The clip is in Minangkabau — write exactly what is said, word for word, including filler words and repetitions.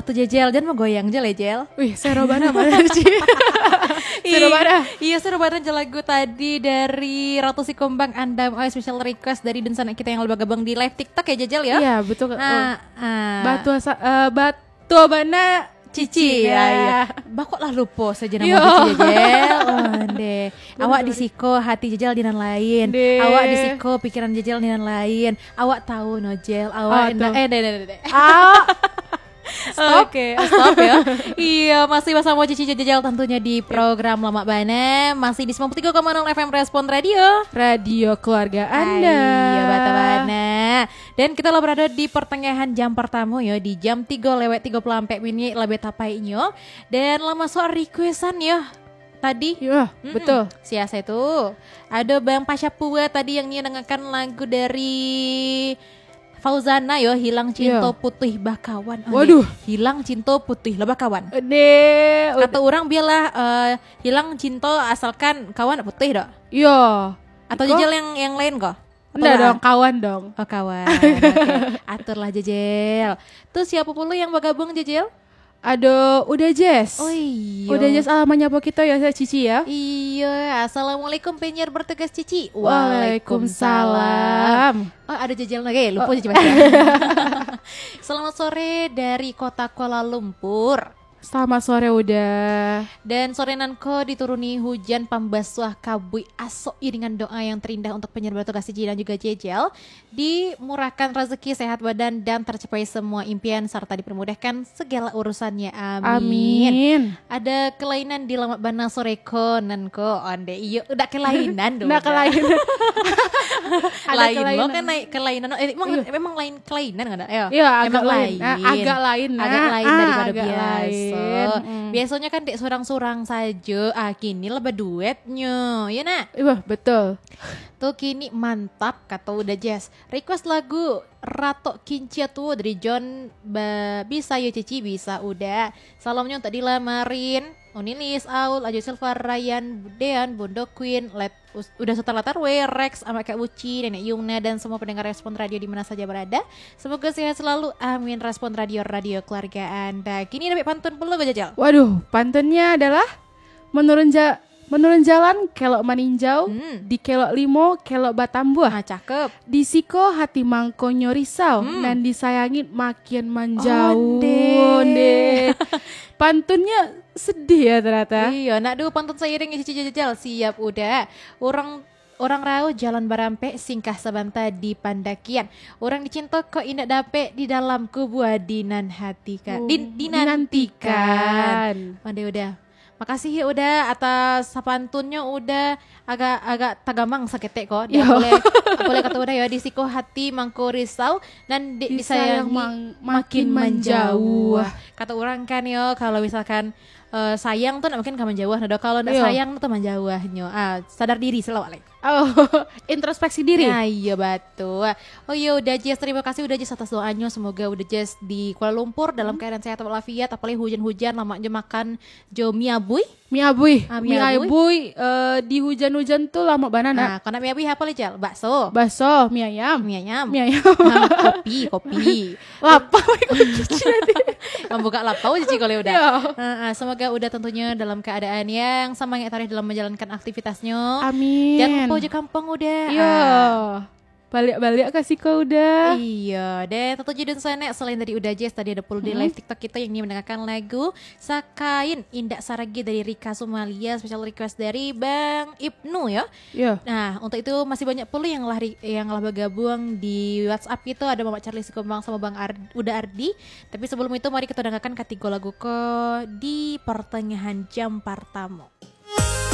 Tu Jejel, jan manggoyang je lah, Jel. Wih, sero bana mah, Ci. Sero bana. Iyo, sero bana je lagu tadi dari Ratu Sikumbang, Andam. Oh, special request dari dunsanak kita yang lah bagabuang di live TikTok ya, Jejel, ya? Iya, betul. Ah, ah. Batua sa-, eh, batua bana Cici, Cici, ya, ya. Bakok lah lupo sajo namo Cici, Jejel. Oh, ndeh. Awak di siko, hati Jejel di nan lain. Ndeh. Awak di siko, pikiran Jejel di nan lain. Awak tahu no, Jel. Awak ndak, eh, ndeh, ndeh, ndeh, ndeh. Ah. Stop. Oke, stop ya. Iya, masih basamo Cici Jejel tentunya di program Lamak Bana. Masih di sembilan puluh tiga koma nol F M Respon Radio. Radio keluarga Anda. Iya, batua bana. Dan kita lah berada di pertengahan jam pertama ya, di jam tiga lewat tiga puluh empat minit lebih tapaiknyo. Dan lah masuk requestan ya tadi. Iya, betul. Sia-sia tu. Ada Bang Pasha Pua tadi yang nio dengarkan lagu dari Fauzana yo, Hilang Cinto Putuih Bakawan. Oh, waduh. Hilang cinto putuih lah bakawan. Deh, kata urang bialah, eh, hilang cinto asalkan kawan putuih doh. Iyo. Atau Jejel yang, yang lain ko? Ndak dong, kawan dong. Oh, kawan. Oke. Aturlah, Jejel. Tu siapa pulo yang bagabuang, Jejel? Ado Uda Jess. Oh, iyo. Uda Jess, ah, manyapo kito ya, Cici ya. Iyo, assalamualaikum penyiar bertugas Cici. Waalaikumsalam. Waalaikumsalam. Oh, ado Jejel lagi, lupo Cici baca. Selamat sore dari kota Kuala Lumpur. Selamat sore, Uda. Dan sore nan ko dituruni hujan pambasuah kabuik asok iringan doa yang terindah untuk penyiar bertugas Cici dan juga Jejel. Dimurahkan rezeki, sehat badan, dan tercapai semua impian, serta dipermudahkan segala urusannya. Amin. Amin. Ada kelainan di Lamak Bana sore ko, nan ko, onde. Iyo, udah kelainan doh. Ndak kelainan. Ada lain kelainan. Lo kan naik kelainan. Eh, emang, iyo, emang lain kelainan kan? Iyo. Iyo, agak emang lain. Lain. Ah, agak lain, agak lain daripada agak biasa. Lain. Hmm. Biasanya kan dek surang-surang saja. Ah, kini lah baduetnyo. Ya, nak? Iya, betul. Tu kini mantap, kata Uda Jess. Request lagu Ratok Kincia Tuo dari John. Ba-, bisa yo Cici, bisa Uda. Salamnyo untuk Dila Marin, Unilis, Aul, Ajo Silva, Ryan, Dean, Bundo Queen, Let-, Us-, Uda Sutan Latarwe, Rex, Amak Kak Uci, Nenek Yumna, dan semua pendengar Respon Radio di mana saja berada. Semoga sehat selalu. Amin. Respon Radio, radio keluarga Anda. Kini dapat pantun pulo, Jejel. Waduh, pantunnya adalah menurun ja-, menurun jalan kelok maninjau, hmm, di kelok limo kelok batambuah. Ah, cakep. Di siko hati mangkonyo risau, hmm, nan disayangi makin manjauh. Onde. Onde. Pantunnya sedih ya ternyata. Iya, nak dulu pantun seiring Cici Jejel. Siap, Uda. Orang, orang rauh jalan barampek, singkah sabanta di pandakian. Orang dicinto kok indak dapek, di dalam kubua di nan hati ka-, di, oh, dinantikan. Dinantikan. Onde, Uda. Makasih ya Uda atas sapantunnyo, Uda agak, agak tagamang saketek ko. Yo. Boleh, boleh kata Uda ya, di siko hati mangko risau, nan dek disayang disayang mang-, makin makin manjauh. Manjauh. Kata urang kan yo, kalau misalkan, eh, sayang tu nak makin ka manjauh, nah, kalau nak, iyo, sayang tu manjauhnyo. Ah, sadar diri selalu, Alek. Oh, introspeksi diri. Nah, iya, batul. Oh iya, Uda Jess, terima kasih Uda Jess atas doanya. Semoga Uda Jess di Kuala Lumpur dalam, hmm, keadaan sehat walafiat, apalagi hujan-hujan, lamaknyo makan jo mi abui. Mi abui. Ah, mi abui. Mi abui, eh, di hujan-hujan tu lamak bana, nak. Nah, kalau nak mi abui apa, Jejel? Bakso. Bakso, mi ayam. Mi ayam. Mi ayam. Ah, kopi, kopi. Lapau, kopi Cici nanti. Mambuka lapau Cici kalau Uda. Yo. Ah, ah, semoga Uda tentunya dalam keadaan yang semangat tarikh dalam menjalankan aktivitasnyo. Amin. Jangan lupa uji kampung, Uda. Yo. Ah. Baliak-baliak ka siko, Uda. Iya, deh, tentunya dunsanak, selain dari Uda Jess, tadi ada pulo di, hmm, live TikTok kita yang ingin mendengarkan lagu Sakain Indak Saragi dari Rika Sumalia, special request dari Bang Ibnu, ya. Iya. Nah, untuk itu masih banyak pulo yang lah ri-, yang lah bagabuang di WhatsApp kita, ada Mamak Charlie Sikumbang sama Bang Ar-, Uda Ardi. Tapi sebelum itu, mari kita dengarkan katigo lagu ko di pertengahan jam pertama.